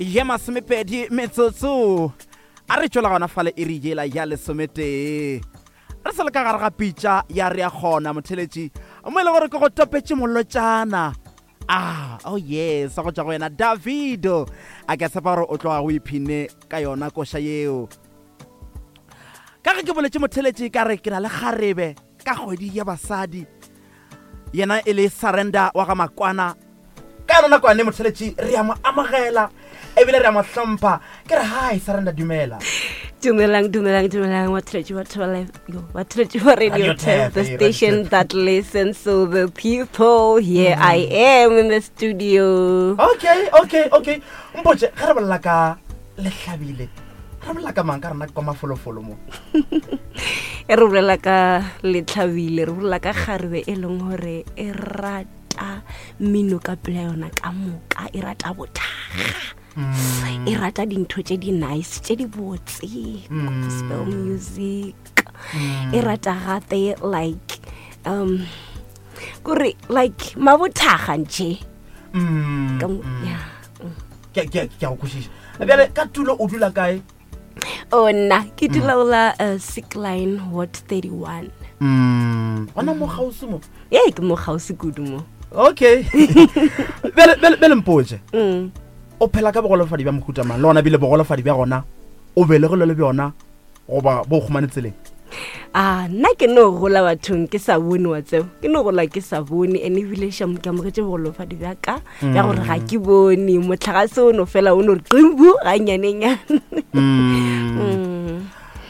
Ye masomepedi metsotso a re tšwela gona fale iri yela ya lesometee. Re sa le ka gare ga pitša ya re ya kgona motheletši mo e le gore ke go topetše molotšana. Ah, oh yes, go tšwa go yena Davido. A ke a tshepa gore o tloga go iphine ka yona koša yeo. Ka ge ke boletše motheletši ka re ke na le kgarebe ka kgwedi ya basadi. Yena e le Surrender wa ga Makwana. Ka yona nako yane motheletši re a mo amogela ebile re a mo hlompha. Ke re hi Surrender dumela. Dumelang, dumelang, dumelang, batheletši ba Thobela yo, batheletši ba Radio Radio Tap, Tap, the eh, Radio station Tap. that listens to the people. Here I am in the studio. Okay, okay, okay. Mpotše ge re bolela ka lehlabile re bolela ka mang ka rena kwa mafolofolo mo. E re bolela ka letlhabile, re bolela ka kgarebe e leng gore e rata mmino ka pela yona ka moka, e rata bothaga. E rata dintho tše di nice, tše di botse, gospel music. E rata gape like kore like mabothaga nje. Ka mo- yeah. Ke ke ke a go kwešiša. Bjale ka tulo o dula kae? Oh, nna ke dula go la Sick Line Ward 31. Gona mo kgauswi mo. Ee, ke mo kgauswi kudu mo. Okay. Bjale, bjale, bjale mpotše. O phela ka bogolofadi bja mohuta mang? Le gona bile bogolofadi bja gona o belegilwe le bjona goba bo khumane tseleng? Ah, nna ke no gola bathong ke sa bone wa tseo. Ke no gola ke sa bone and ebile sham ke amogetše bogolofadi bja ka bja gore ga ke bone motlakase o no fela o no re qimbu ga nyanenyane.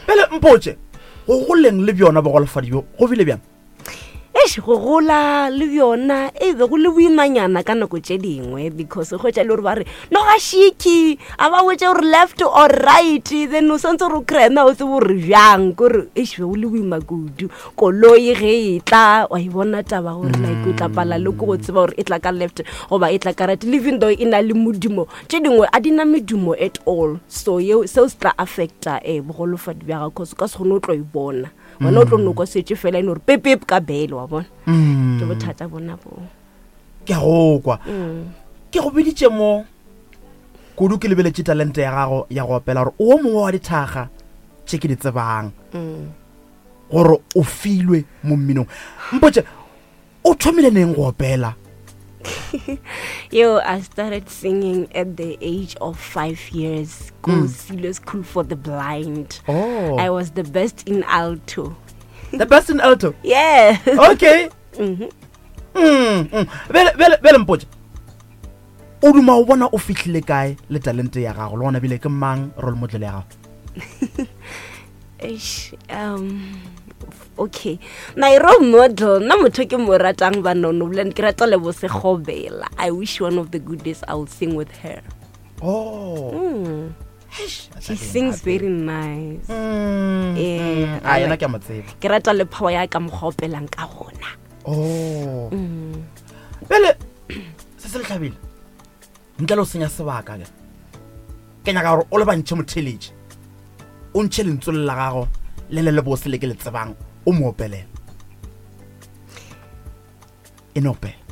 Bjale mpotše, go goleng le bjona bogolofadi bjo go bile bjang? Eish, go gola le bjona e be go le boimanyana ka nako tše dingwe because go tša le gore ba re no ga shiki a ba botse gore left or right, then o santse gore o creme o tsebe gore bjang, kore eish be go le boima kudu. Koloi ge e tla wa e bona taba gore like o tla pala le ko go tseba gore e tla ka left goba e tla ka right, even though e na le modumo, tše dingwe a di na medumo at all, so yeo seo se tla affecta bogolofadi bja gago cause o ka se kgone o tlo e bona. Wena o tlo no kwa setse fela e no re pep pep ka bele wa bona. Ke bothata bona bo. Ke a go kwa. Ke go biditše mo kudu ke lebeletše talente ya gago ya go opela gore o mongwe wa dithaga tše ke di tsebang. Gore o filwe mo mminong. Mpotše, o thomile neng go opela? Yo, I started singing at the age of 5 years. Go Silo School for the Blind. Oh. I was the best in alto. The best in alto? Yeah. Okay. Bjale, bjale, bjale mpotše, o duma o bona o fihlile kae le talente ya gago, le gona bile ke mang role model ya gago? Eish, okay. My role model, nna motho ke mo ratang ba nono, boleng ke rata Lebo Sekgobela. I wish one of the good days I will sing with her. Oh. Eish, she sings very nice. A yena ke a mo tseba. Ke rata le power ya ka mokgwa o opelang ka gona. Oh. Pele se se lehlabile. Ntle le o senya sebaka ke. Ke nyaka gore o lebantšhe motheletši. O ntšhe lentswe le la gago le le lebose le ke le tsebang o mo opelela. E no opela.